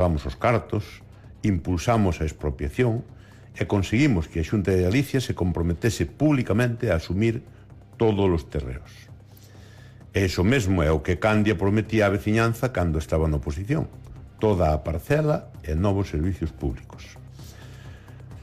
Vamos os cartos, impulsamos a expropiación e conseguimos que a Xunta de Galicia se comprometese públicamente a asumir todos os terreos. E iso mesmo é o que Candia prometía á veciñanza cando estaba na oposición: toda a parcela e novos servicios públicos.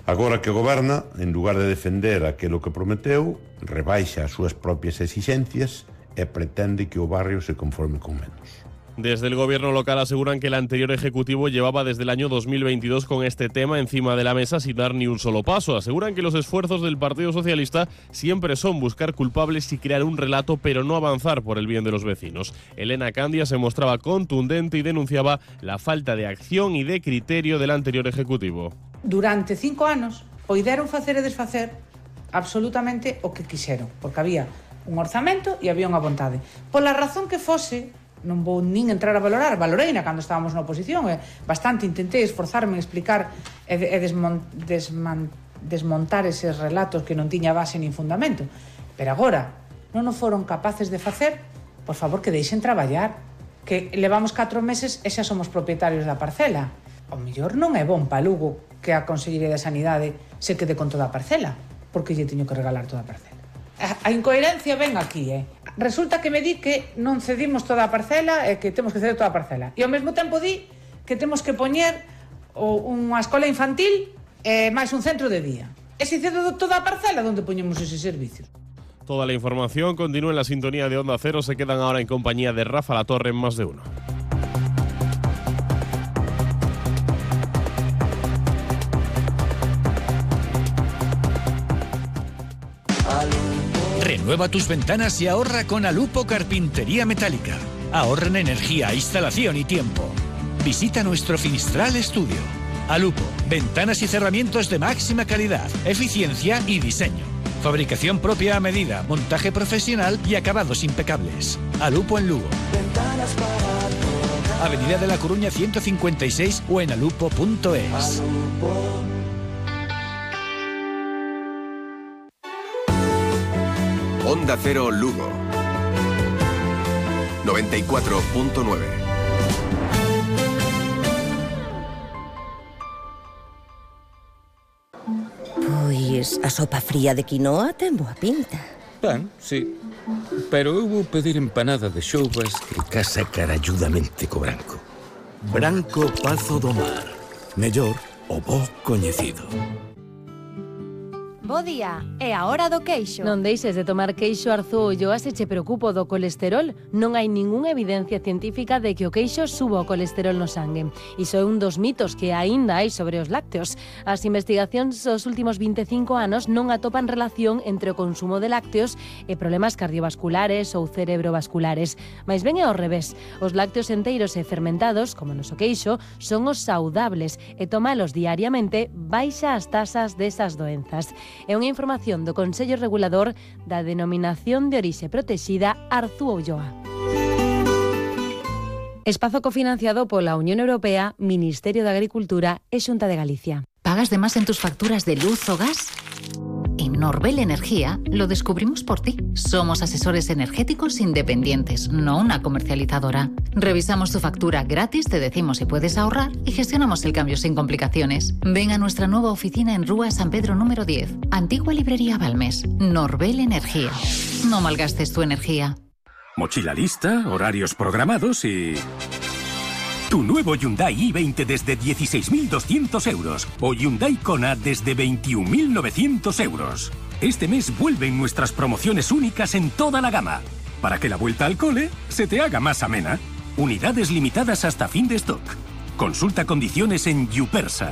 Agora que goberna, en lugar de defender aquilo que prometeu, rebaixa as súas propias exixencias e pretende que o barrio se conforme con menos. Desde el gobierno local aseguran que el anterior ejecutivo llevaba desde el año 2022 con este tema encima de la mesa sin dar ni un solo paso. Aseguran que los esfuerzos del Partido Socialista siempre son buscar culpables y crear un relato, pero no avanzar por el bien de los vecinos. Elena Candia se mostraba contundente y denunciaba la falta de acción y de criterio del anterior ejecutivo. Durante 5 anos poideron facer e desfacer absolutamente o que quixeron, porque había un orzamento e había unha vontade. Pola razón que fose, non vou nin entrar a valorar, valoreina cando estábamos na oposición, bastante intentei esforzarme en explicar e desmontar eses relatos que non tiña base nin fundamento. Pero agora non o foron capaces de facer, por favor que deixen traballar, que levamos 4 meses e xa somos propietarios da parcela. O mellor non é bon pa Lugo que a Consellería de Sanidade se quede con toda a parcela, porque lle teño que regalar toda a parcela. A incoherencia ven aquí, Resulta que me di que non cedimos toda a parcela e que temos que ceder toda a parcela. E ao mesmo tempo di que temos que poñer unha escola infantil e máis un centro de día. E se cedo toda a parcela, onde poñemos eses servicios? Toda la información continúa en la sintonía de Onda Cero. Se quedan ahora en compañía de Rafa Latorre en Más de Uno. Renueva tus ventanas y ahorra con Alupo Carpintería Metálica. Ahorra en energía, instalación y tiempo. Visita nuestro Finistral Estudio. Alupo, ventanas y cerramientos de máxima calidad, eficiencia y diseño. Fabricación propia a medida, montaje profesional y acabados impecables. Alupo en Lugo. Avenida de la Coruña 156 o en alupo.es. Onda Cero Lugo 94.9. Pois a sopa fría de quinoa ten boa pinta. Ben, sí. Pero eu vou pedir empanada de xoubas que casa caralludamente co branco. Branco Pazo do Mar. Mellor o bo coñecido. Bo día, é a hora do queixo. Non deixes de tomar queixo Arzúollo, se che preocupo do colesterol. Non hai ningunha evidencia científica de que o queixo suba o colesterol no sangue. Iso é un dos mitos que aínda hai sobre os lácteos. As investigacións dos últimos 25 anos non atopan relación entre o consumo de lácteos e problemas cardiovasculares ou cerebrovasculares. Mais ben é ao revés. Os lácteos enteiros e fermentados, como o noso queixo, son os saudables e tomalos diariamente baixa as tasas desas doenzas. É unha información do Consello Regulador da Denominación de Orixe Protexida Arzúa. Espazo cofinanciado pola Unión Europea, Ministerio de Agricultura e Xunta de Galicia. ¿Pagas de más en tus facturas de luz o gas? En Norbel Energía lo descubrimos por ti. Somos asesores energéticos independientes, no una comercializadora. Revisamos tu factura gratis, te decimos si puedes ahorrar y gestionamos el cambio sin complicaciones. Ven a nuestra nueva oficina en Rúa San Pedro número 10, Antigua Librería Balmes. Norbel Energía. No malgastes tu energía. Mochila lista, horarios programados y... Tu nuevo Hyundai i20 desde 16.200 euros o Hyundai Kona desde 21.900 euros. Este mes vuelven nuestras promociones únicas en toda la gama, para que la vuelta al cole se te haga más amena. Unidades limitadas hasta fin de stock. Consulta condiciones en Yupersa.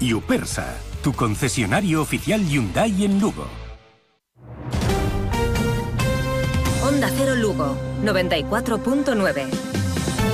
Yupersa, tu concesionario oficial Hyundai en Lugo. Onda Cero Lugo 94.9.